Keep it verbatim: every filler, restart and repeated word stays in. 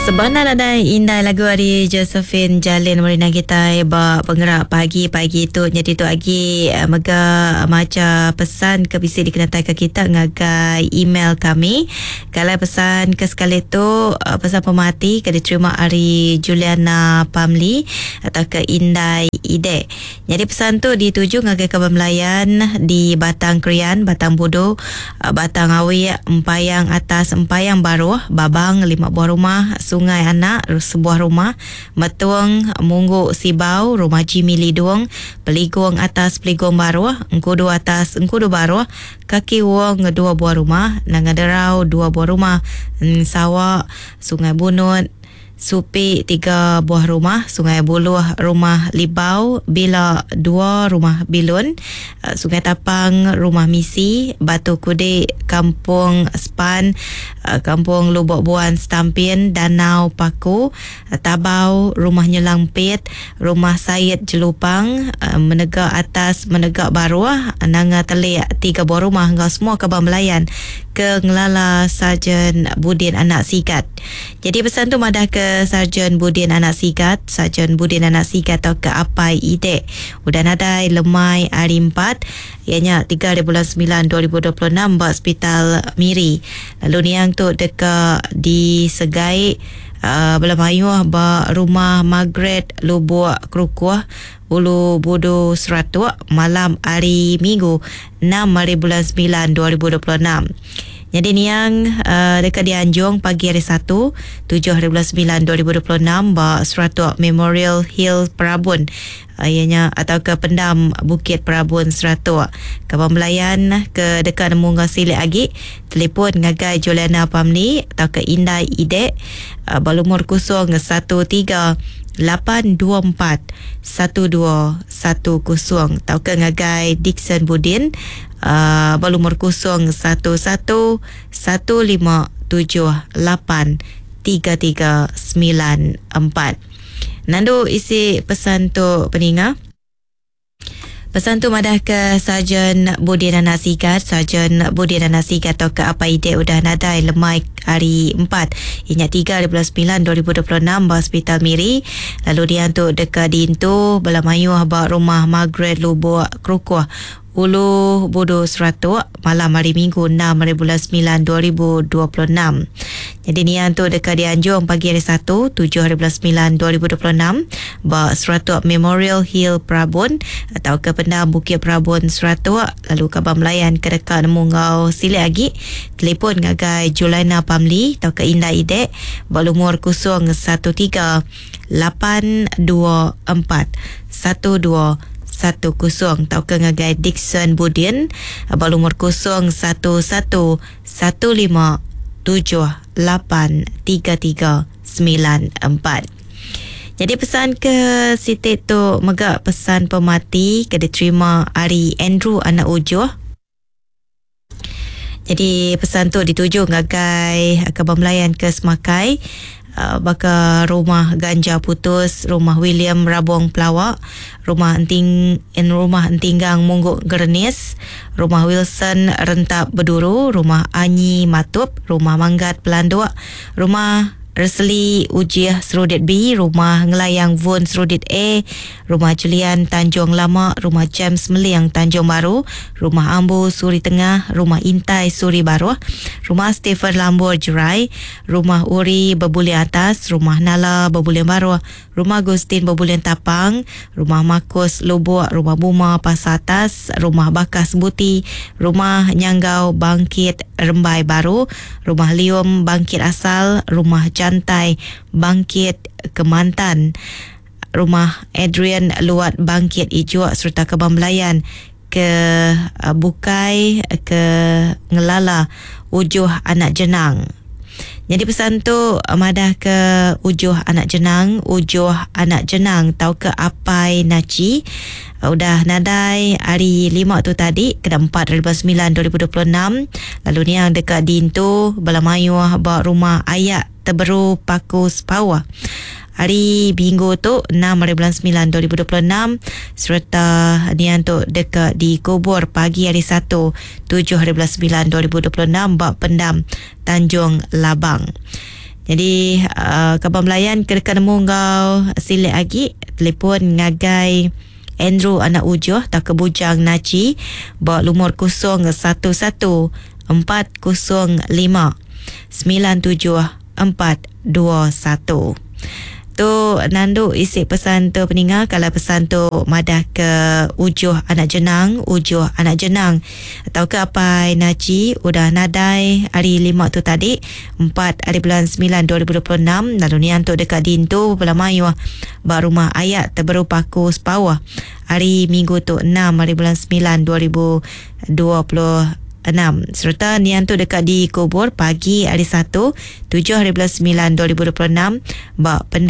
Sebana nadai indai lagu ari Josephine Jalin Marina kita ba pengerak pagi-pagi tu. Jadi tu lagi mega maca pesan ke bisi dikenatai ke kita ngagai email kami. Kalau pesan ke sekali tu pesan pemati ke diterima ari Juliana Pamli atau ke Indai Ide. Jadi pesan tu dituju ngagai kaban Melayan di Batang Krian, Batang Budu, Batang Awi, Empayang Atas, Empayang Baruh, Babang, lima buah rumah, Sungai Anak, sebuah rumah, Metung, Munggu Sibau, Rumah Jimmy Lidung, Peligung Atas, Peligung Baruh, Engkudu Atas, Engkudu Baruh, Kaki Wong, dua buah rumah, Nangaderau, dua buah rumah, Sawak, Sungai Bunut, Supi tiga buah rumah, Sungai Buluh rumah Libau, Bila dua rumah Bilun, Sungai Tapang rumah Misi, Batu Kudik Kampung Span, Kampung Lubok Buan Stampin, Danau Paku, Tabau rumah Nyelang Pit, Rumah Said Jelupang, Menegak Atas, Menegak Baruh, Nanga Telik tiga buah rumah enggau semua kaban Melayan ke ngelala Sarjan Budin Anak Sigat. Jadi pesan tu madah ke Sarjan Budin Anak Sigat, Sarjan Budin Anak Sigat atau ke Apai Ide. Udah nadai lemai hari empat, ianya tiga bulan sembilan dua ribu dua puluh enam ba Hospital Miri. Lalu niang tu deka disegai uh, bela mayuh ba rumah Margaret Lubuk Kerukuh Ulu Budu Seratuk malam hari Minggu enam hari bulan sembilan dua ribu dua puluh enam. Jadi niang uh, dekat dianjung pagi hari Satu tujuh hari bulan sembilan dua ribu dua puluh enam ba Seratuk Memorial Hill Perabun. Uh, ianya atau ke Pendam Bukit Perabun Seratuk. Kaban Melayan ke dekat nemu ngau silik agi telefon ngagai Juliana Pamli atau ke Indai Ide uh, balumur kosong satu tiga lapan dua empat satu dua satu kosong atau ke ngagai Dixon Budin uh, balumur kosong satu satu satu lima tujuh lapan tiga tiga sembilan empat. Nandu isi pesan tu peninga. Pesan tu madah ke Sarjan Budin Anak Sigat, Sarjan Budin Anak Sigat atau ke Apa Ide udah nadai lemai hari empat ingat tiga bulan sembilan dua ribu dua puluh enam ba Hospital Miri. Lalu dia tu dekat dintu bela mayuh ba rumah Margaret Lubuk Kerukuh Ulu Budu Seratuk malam hari Minggu enam hari bulan sembilan dua ribu dua puluh enam. Jadi nian tu dekat dianjung pagi hari Satu tujuh hari bulan sembilan dua ribu dua puluh enam ba Seratuk Memorial Hill Perabun atau ke Pendam Bukit Perabun Seratuk. Lalu kaban Melayan ke dekat nemu ngau silik agi telefon ngagai Juliana Pamli atau ke Indai Ide ba lumur kosong satu tiga lapan dua empat satu dua satu kosong atau ke ngagai Dixon Budin ba lumur kosong satu satu satu lima tujuh lapan tiga tiga sembilan empat. Jadi pesan ke Siti tu mega pesan pemati ke diterima ari Andrew Anak Ujuh. Jadi pesan tu dituju ngagai kaban Melayan ke Semakai, Uh, baka rumah Ganja Putus, rumah William Rabong Pelawak, rumah Enting rumah Entinggang Mungguk Gernis, rumah Wilson Rentap Beduru, rumah Anyi Matup, rumah Manggat Pelanduk, rumah Resli Ujiah Serudit B, rumah Ngelayang Vun Serudit A, rumah Julian Tanjung Lama, rumah James Meliang Tanjung Baru, rumah Ambu Suri Tengah, rumah Intai Suri Baruh, rumah Stephen Lambur Jerai, rumah Uri Bebulian Atas, rumah Nala Bebulian Baruh, rumah Agustin Bebulian Tapang, rumah Markus Lubuk, rumah Buma Pasar Atas, rumah Bakas Buti, rumah Nyanggau Bangkit Rembai Baru, rumah Lium Bangkit Asal, rumah Jantai Bangkit Kemantan, rumah Adrian Luat Bangkit Ijuk serta Kebang Belayan ke Bukai ke Ngelala Ujuh Anak Jenang. Jadi pesan tu madah ke Ujuh Anak Jenang, Ujuh Anak Jenang tau ke Apai Naci udah nadai hari lima tu tadi kena empat hari bulan sembilan dua ribu dua puluh enam. Lalu ni yang dekat dintu bela mayuh ba rumah Ayak Teberu Paku Sepawah hari Minggu tu enam hari bulan sembilan dua ribu dua puluh enam serta nian tu dekat dikubur pagi hari Satu tujuh hari bulan sembilan dua ribu dua puluh enam bak Pendam Tanjung Labang. Jadi uh, kaban belayan ke dekat nemu ngau silik lagi telefon ngagai Andrew anak Ujoh tak ke Bujang Naci ba lumur kosong satu satu empat kosong lima sembilan tujuh empat dua satu. Tu nandu isi pesan tu peninga kalau pesan tu madah ke Ujoh anak jenang, Ujoh anak jenang atau ke apai Naci udah nadai hari lima tu tadi empat hari bulan sembilan dua ribu dua puluh enam lalu nian tu dekat dintu bela mayuh ba rumah ayat terberupaku sepawah hari minggu tu enam hari bulan sembilan dua ribu dua puluh enam serta nian tu dekat dikubur pagi hari Satu tujuh hari bulan sembilan dua ribu dua puluh enam ba